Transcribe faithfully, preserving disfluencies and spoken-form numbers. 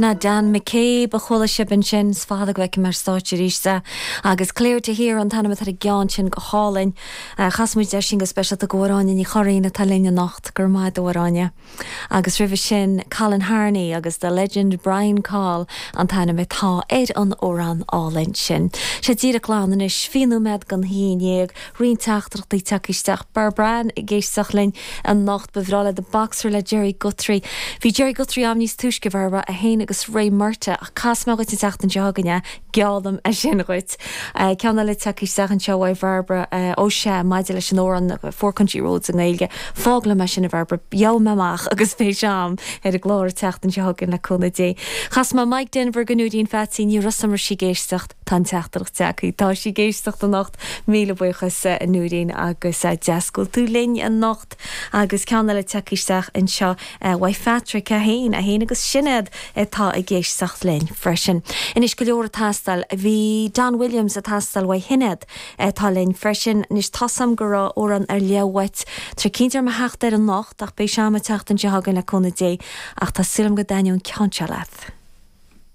Ná Dan McCabe a chuala sibh ansin is fada go bhfeicim ar stáitse arís é agus Clear to Hear an t-ainm atá ar an gceann sin go hálainn. Chas muid é sin go speisialta do Áine Ní Churraoin atá linn anocht gur maith Áine. Agus roimhe sin Colin Harney agus the legend Brian Call an t-ainm atá ar an amhrán álainn sin. Sé díreach glan anois fiche nóiméad don haon déag roinnt teachtaireachtaí tagtha isteach Barbara ag éisteacht linn anocht ba bhreá léi The Boxer le Jerry Guthrie. Bhí Jerry Guthrie am níos túisce Barbara a haon agus Ray Murta ach casfaidh mé dhuit an tseachtain seo chugainn geallaim é sin dhuit. Ceann eile tagtha isteach anseo ó Barbara ó sé maidir leis an amhrán Four Country Roads i nGaeilge. Fág liom é sin a Barbara gheobhaidh mé amach agus beidh sé agam ar an gclár an tseachtain seo chugainn le cúnamh Dé. Chas mé Mike Denver do Nóirín Pheaitsí ní raibh sí ag éisteacht tá an teachtaireacht tagtha Tá sí ag éisteacht anocht míle buíochas a Nóirín agus deas go bhfuil tú linn anocht agus ceann eile tagtha isteach anseo uaidh Patrick a haon a haon agus Sinéad atá ag éisteacht linn freisin. Anois go leor ag teastáil bhí Don Williams ag teastáil uaidh Shinéad atá linn freisin anois tá a fhios agam go raibh amhrán ar leith uait Tá cinnte mar theacht ar anocht ach beidh sé agam an tseachtain seo chugainn le cúnamh Dé ach tá súil agam go dtaitneoidh an ceann seo leat.